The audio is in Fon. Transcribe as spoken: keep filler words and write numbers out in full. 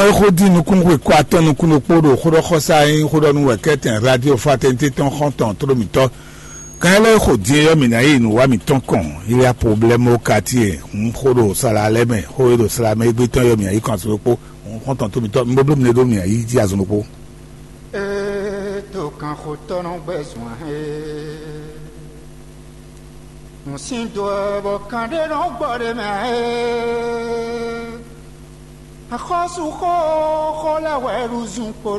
É xó dín nukúnxwe kó atɔ́ nukún ɖokpó ɖo xóɖɔxɔsá e nyí xóɖɔnú wɛ kɛ́tɛn radio fraternité tɔn xɔ́ntɔn tló mǐtɔn. Kan ɛ lɛ́ xo din e ɔ́, mǐ ná yi nǔ wa mǐtɔn kɔn. Il y a problème au quartier. Hǔn xó ɖo sala lɛ́ɛ mɛ, xó e ɖo sala mɛ égbé tɔn yɔ mǐ ná yi kɔn azɔn ɖokpó. Hǔn xɔ́ntɔn tló mǐtɔn, mi bo bló mi ɖó mǐ ná yi jí azɔn ɖokpó. Ee, to kanxotɔ́ nɔ gbɛ zɔn ɛ. Nǔ sín do ɛ bɔ kan ɖé nɔ gbɔ ɖ'é mɛ ɛ. Axɔ́súxó xó lɛ́ hwɛ ɖu zun kpo